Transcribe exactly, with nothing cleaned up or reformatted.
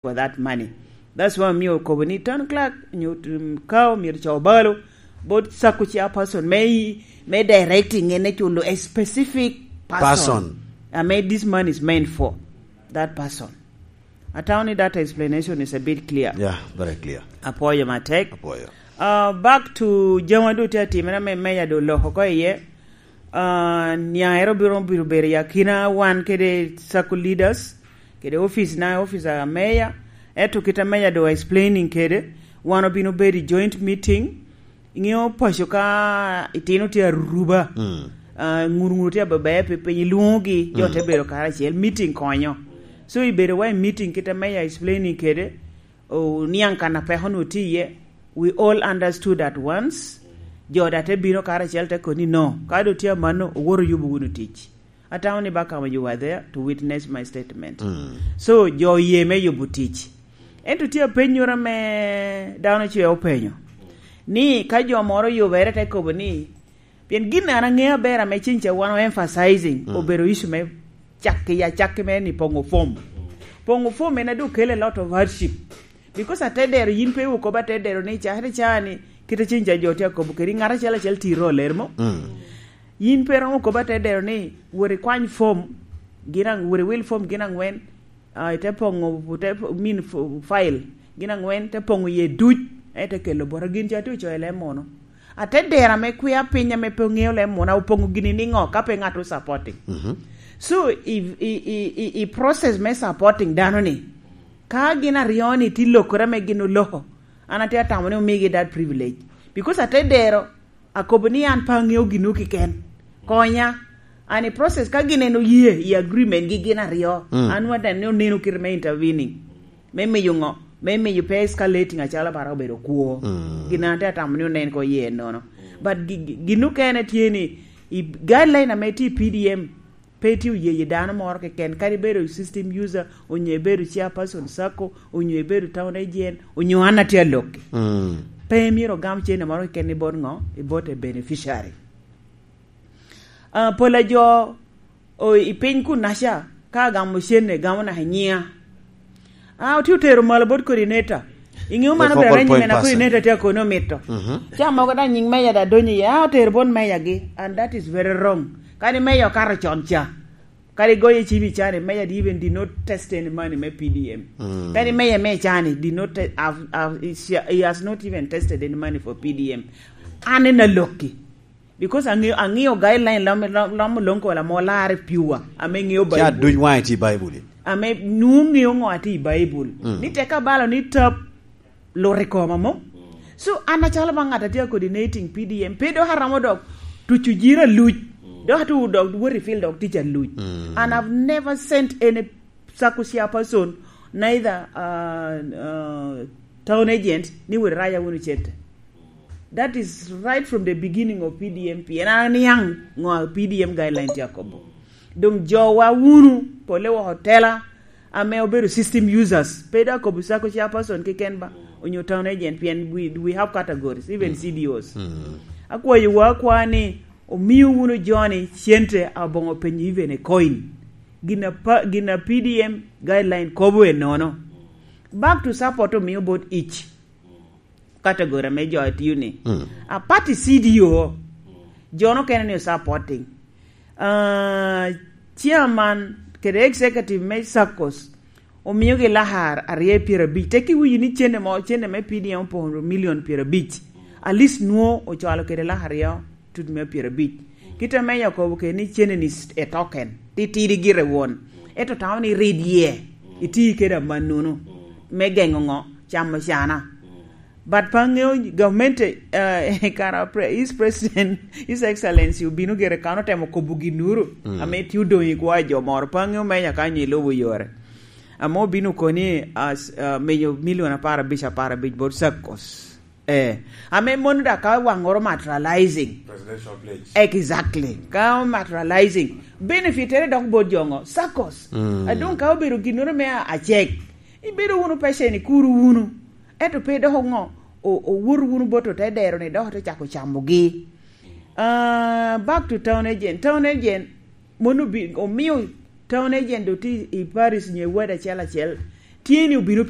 for that money. That's why omiyo okobo ni town clerk nyo, um, ka omyero co balo bot sacco chairperson me, me directing en culo a specific person. Person. I mean, this money is meant for that person. Atamo ni that explanation is a bit clear. Yeah, very clear. Apwoyo matek. Apwoyo. Uh, back to jama do tye atimere me meya do loko ko iye. Uh, niaero biro, biro bedo i akina wan kede sacco leaders, kede office na, office a meya. Eto kita meya do explaining kede, wan obino bedo i joint meeting. Iŋeo paco ka itino tye aruba, mm, ah, ŋur ŋur tye abeber pi piny, ilwoŋogi, jo, mm, te bedo karacel, meeting konyo. So ibedo wa i meeting kite me ya explaining kede, o, niaŋ kan a peko nu tye iye, we all understood at once, jo da te bino karacel te koni no, ka do tye amanno, owoto yubo wunu tic. Atamo ni Bakama, you were there to witness my statement. Mm. So, jo oye me yubo tic. Ento tye apenyoro ame dano ce openyo, ni ka jo moro oyubere te kobo ni, pien gin an aŋeo aber ame cen ca wan o emphasizing, mm, obedo issue me cakki, ya cakki me ni poŋo fom. Poŋo fom en a dok kelo a lot of hardship. Because atedero, yin pe iwu kobo atedero ni, "Cakere ca ni, kite cen ca jo tye akobo kedi, ŋat acel acel tiro ler mo." Mm. Yin pe romo kobo atedero ni, "Wot ikwany fom, gin aŋ-, wot iwil fom gin aŋwen, ah, ite poŋo, ite po-, min f-, file, gin aŋwen, te poŋo iye duc, ite kelo bota." Gin ca tye ocoyo leb muno. Atedero ame kwia piny ame pe oŋeo leb muno, opoŋo gini niŋo ka pe ŋat o supporting? Mhm. So, i, i, i, i, i process me supporting dano ni, ka gin aryo ni tye lokere ame gin oloko, an atye atamo ni omigi that privilege. Because atedero, akobo ni an pe aŋeo gino kiken. Konya. And i process, ka gin en oye i agreement gi gin aryo, mm, an nwoŋo aneno ni oneno kite me intervening. Me miyo ŋo? Me miyo pe escalating acalo bara obedo kwo. Mm. Gin an atye atamo ni onen ko ye nono. But gi-, gi-, gin okene tye ni, i guideline ame tye i P D M, pe tye oyeye dano moro keken, kadi bedo system user, onyo ibedo chairperson sacco, onyo ibedo town agent, onyo an atye alokki. Mm. Pe myero ogam cene moro keken i bot ŋo? I bot a beneficiary. Ah, pol a jo, o, i piny kunaca, ka agamo cene, gamo naka i nyiŋa. Ah, otye otero malo bot coordinator. Iŋeo man obedo focal anyim point ena person. Coordinator tye akono omito. Mhm. Ca mogo daŋ nyiŋ meya da donyo iye, ah, otero bot meya gi. And that is very wrong. Kadi meya okato con ca. Kadi goyo cim i cani, meya di even did not test any money me P D M. Mm. Kadi meya me cani did not te-, have, have, he has not even tested any money for P D M. An en alokki. Because aŋeo, aŋeo guideline lam, lam, lam olong kola mo lar pure. Ame ŋeo Bible. Ca duc waŋe tye i Bible. Ame nwoŋo ŋeo ŋo atye i Bible. Mm. Ni tek abalo ni tap, lut i koma mo. So, an acalo ba ŋat atye a coordinating P D M, pe dok aromo dok tuco jira luc. Dok atu dok wot i field dok tic aluc. Mm. And I've never sent any sacco chairperson, neither, uh, uh, town agent, ni wot iraya wunu cente. That is right from the beginning of P D M P. En an aniaŋ ŋo P D M guideline tye akobo. Doŋ jowa wunu, pole woko tela, ame obedo system users. Pe dok akobo sacco chairperson keken ba, onyo town agent, pien we, we have categories, even, mm, C D Os. Mm. Akwayowa akwa ni, omio wunu joni cente aboŋo penyo even a coin. Gin a pa-, gin a P D M guideline kobo enono. Back to support omio bot each category ame jo a tio ni. Mm. Apart i C D O, jo no kene ni supporting. Ah, chairman kede executive me saccos, omiogi lakar aryo pyerabic. Tek iwinyo ni cene mo, cene me P D M opoŋo million pyerabic. At least nwoŋo ocwalo kede lakar aryo tut me pyerabic. Kite me Yakobo kede ni cene ni s-, a token, titidi gire won. Ento tamo ni rid ye, iti kede amannono. Me geŋo ŋo? Camo cana. But pe aŋeo gamente, eh, kara pre-, His President, His Excellency obino gire kan otemo kobo ginnuru, mm, ame tye odoŋ i kwa jo moro. Pe aŋeo meya ka nyo ilubo yore. Ame obino koni as, eh, meyo milion apar abic, apar abic bot saccos. Eh, ame mono da ka waŋoro materializing. Presidential pledge. Exactly. Ka materializing, benefitere dok bot jo ŋo? Saccos. Mm. Adong ka obedo ginnoro me a-, acek, ibedo wunu pecen, ikuro wunu. Ento pe dok oŋo? O-, owoto wunu bot otedero ni dok ote cako camogi. Ah, back to town agent. Town agent, mono bi-, omio town agent oti i parish nyo i ward acel acel, Tye ni obino pi